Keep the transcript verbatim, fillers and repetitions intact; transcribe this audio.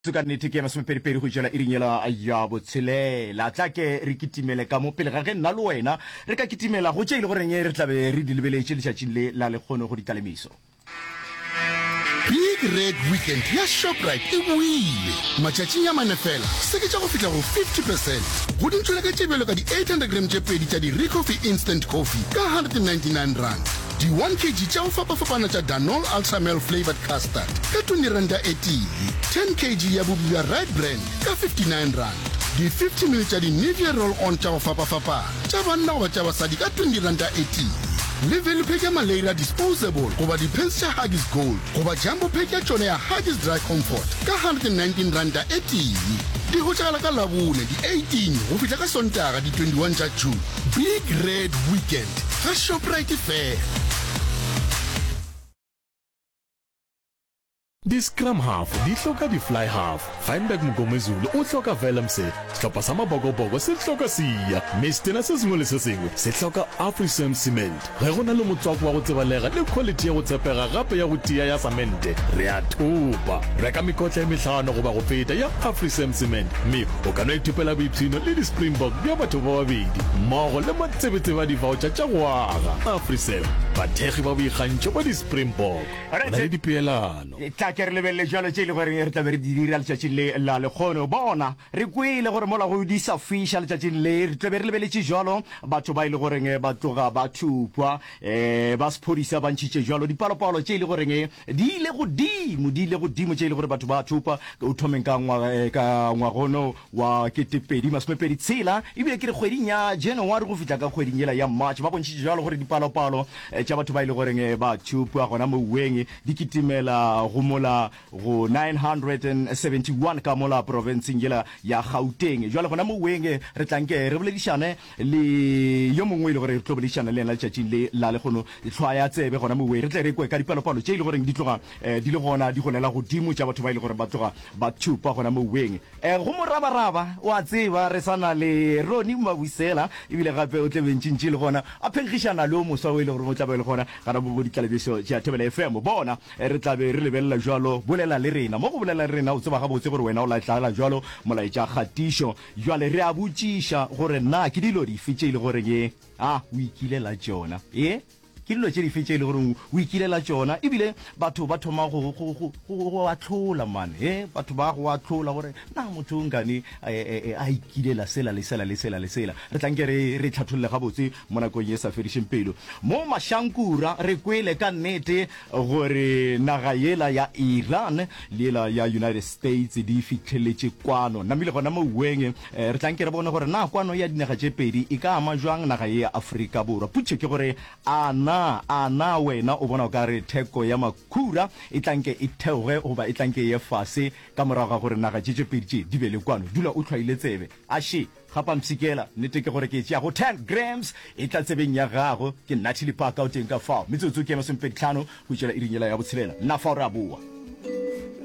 Ka nnete ke masomepedipedi go tšwela iring yela ya botshelela. Tla ke re kitimele ka mo pele ga ge nna le wena re ka kitimela go tše e le goreng re tla be re di lebeletše letšatšing le la lekgono go ditlalemeso. Big Red Weekend ya Shoprite e boile! Matšatšing a mane fela, seketša go fihla go fifty percent go dintšoleke tše bjalo ka di eight hundred gram tše pedi tša di Ricoffy Instant Coffee ka one hundred and ninety nine rand, di one kg tša go fapafapana tša Danol Ultramel Flavoured Custard ka twenty ranta e tee, ten kg ya bupi bja Rite Bran ka fifty nine rand, di fifty ml tša di Nivea Roll-On tša go fapafapana tša banna goba tša basadi ka twenty ranta e tee, le value pack ya Maleira Disposable goba di-pants tša Huggies Gold goba jumbo pack ya tšona ya Huggies Dry Comfort ka hundred and nineteen ranta e tee. Di hwetšagala ka Labone di eighteen go fihla ka Sontaga di twenty one tša June. Big Red Weekend ga Shoprite fela. Di-scrum half di hloka di-fly half, Feinberg Mngomezulu o hloka Willemse, sehlopha sa Mabokoboko se hloka Siya, mme setena se sengwe le se sengwe se hloka Afrisem Cement. Ge go na le motswako wa go tsebalega le quality ya go tshepega gape ya go tia ya samente, re a thopa. Reka mekotla e mehlano goba go feta ya Afrisem Cement mme o ka no ithopela boipshino le di-Springbok bja batho ba babedi mmogo le matsebetsebe a di-voucher tša go aga. Afrisem, bathekgi ba boikgantšho ba di-Springbok. Go na le dipeelano. Tla ke re lebelele jalo tše e le gore re tla be re di dira letšatšing le la lekgono. Bona, re kwele gore mola go di sa fiša letšatšing le, re tla be re lebeletše jalo batho ba e le goreng ba tloga ba thupwa. Um ba sephodisa ba ntšhitše jalo dipalopalo tše e le goreng di ile godimo, di ile godimo tše e le gore batho ba thupwa o thomeng ka ngwaga, ka ngwagono wa ketepedi masomepedi tshela, ebile ke re kgweding ya January go fihla ka kgweding yela ya March, ba bontšhitše jalo gore dipalopalo tša batho ba e le goreng ba thupwa gona mouweng di kitimela go mola go nine hundred and seventy one ka mola profenseng yela ya Gauteng. Jwale gona mouweng re tla nke re boledišane le yo mongwe e le gore re tlo boledišana le yena letšatšing le la lekgono, hlwaya tsebe gona mouweng, re tle re kwe ka dipalopalo tše e le goreng di tloga di le gona di golela godimo tša batho ba e le gore ba tloga ba thupa gona mouweng. Go morabaraba, o a tseba, re sa na le Ronnie Mabusela, ebile gape o tle bentšintši le gona a phenkgišana le o moswa o e le gore o tla be le gona gana mo bo ditlalebišo tša Thobela F M. Bona, re tla be re lebelela bjalo, bolela le rena. Mo go bolela le rena, o tseba gabotse gore wena o lahlala bjalo molaetša kgatišo. Bjale re a botšiša gore na ke dilo dife tše e le goreng a o ikilela tšona? Ee? Ke dilo tše dife tše e le goreng o ikilela tšona? Ebile batho ba thoma go, go, go, go, go ahlola, man. He, batho ba go ahlola gore na motho o nkane a ikilela sela le sela le sela le sela. Re tla nke re, re hlatholle gabotse mo nakong ye sa fedišeng pelo. Mo Mashankura re kwele ka nnete gore naga yela ya Iran le yela ya United States di fihleletše kwano. Namile gona mouweng, re tla nke re bone gore na kwano ya dinaga tše pedi e ka ama jwang naga ye ya Afrika Borwa. Potšišo ke gore A na, a na wena o bona o ka re theko ya makhura e tla nke e theoge goba e tla nke e ye fase ka morago ga gore naga tše tše pedi tše di be le kwano? Dula o hlwaile tsebe. A še, gapa mpshikela, nnete ke gore ke e tšea go ten grams e tla tsebeng ya gago. Ke Natalie Parker o teng ka fao. Metsotso ke ye masomepedi tlhano go tšwela iring yela ya botshelela. Nna fao re a boa.